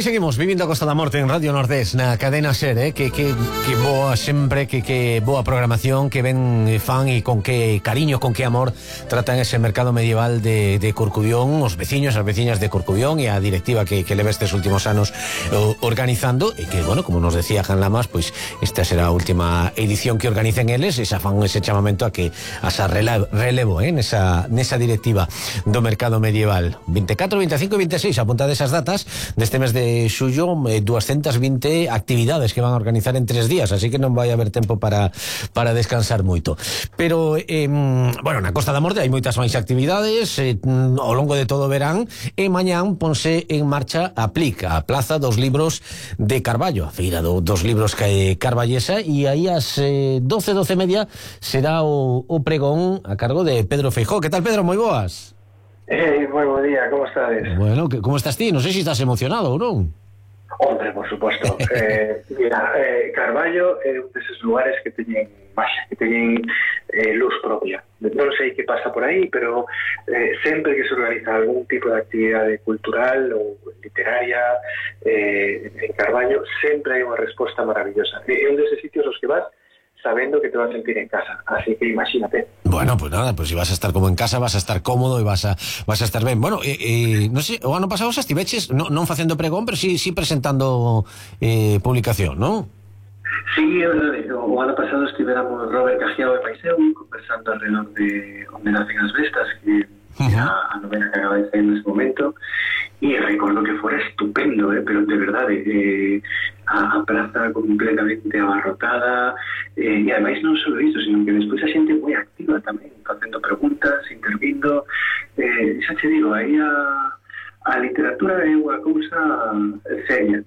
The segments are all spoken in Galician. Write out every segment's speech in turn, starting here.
seguimos vivindo a Costa da Morte en Radio Nordés, na cadena SER, que boa sempre, que boa programación, que ben fan e con que cariño, con que amor tratan ese mercado medieval de Corcubión, os veciños, as veciñas de Corcubión e a directiva que leva estes últimos anos organizando, e que, bueno, como nos decía Jan Lamas, pois esta será a última edición que organicen eles, e xa fan ese chamamento a que asa relevo nesa directiva do mercado medieval. 24, 25 e 26, apunta desas datas deste mes de xullo, 220 actividades que van a organizar en 3 días, así que non vai haber tempo para descansar moito. Pero, bueno, na Costa da Morte hai moitas máis actividades ao longo de todo o verán, e mañán ponse en marcha a PLIC, a Plaza dos Libros de Carballo, a feira dos libros carballesa, e aí ás 12:30 será o pregón a cargo de Pedro Feijóo. Que tal, Pedro? Moi boas. Moi bo día, como estades? Bueno, como estás ti? Non sei se estás emocionado ou non. Hombre, por suposto. Mira, Carballo é un deses lugares que teñen máxia, que teñen luz propia. Non sei que pasa por aí, pero sempre que se organiza algún tipo de actividade cultural ou literaria en Carballo, sempre hai unha resposta maravillosa. É un deses sitios os que vas sabendo que te vas a sentir en casa, así que imagínate. Bueno, pues nada, pues si vas a estar como en casa, vas a estar cómodo e vas a estar ben. Bueno, non sei, o ano pasado xa estiveches non facendo pregón, pero sí presentando publicación, non? Sí, é verdade. O ano pasado estivéramos Robert Cajiao e Maiseu conversando alrededor de onde nacen as bestas, que era a novena que acaba de sair nese momento, e recordo que fora estupendo, pero de verdade, a praza completamente abarrotada, e ademais non só isto, sino que despois a xente moi activa tamén, facendo preguntas, intervindo, xa te digo, aí a literatura é unha cousa seria,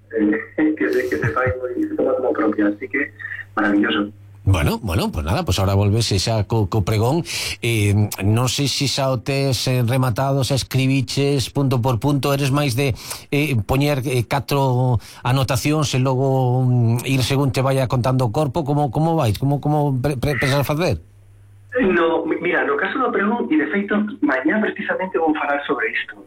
que se fai moi, se toma como propia, así que maravilloso. Bueno, pues nada, pues ahora volvese xa co pregón. Non sei se xa o tes rematado, xa escribiches punto por punto, eres máis de poñer 4 anotacións e logo ir según te vaya contando o corpo, como vais? Como pensas facer? No, mira, no caso do pregón, e de feito, mañá precisamente vou falar sobre isto.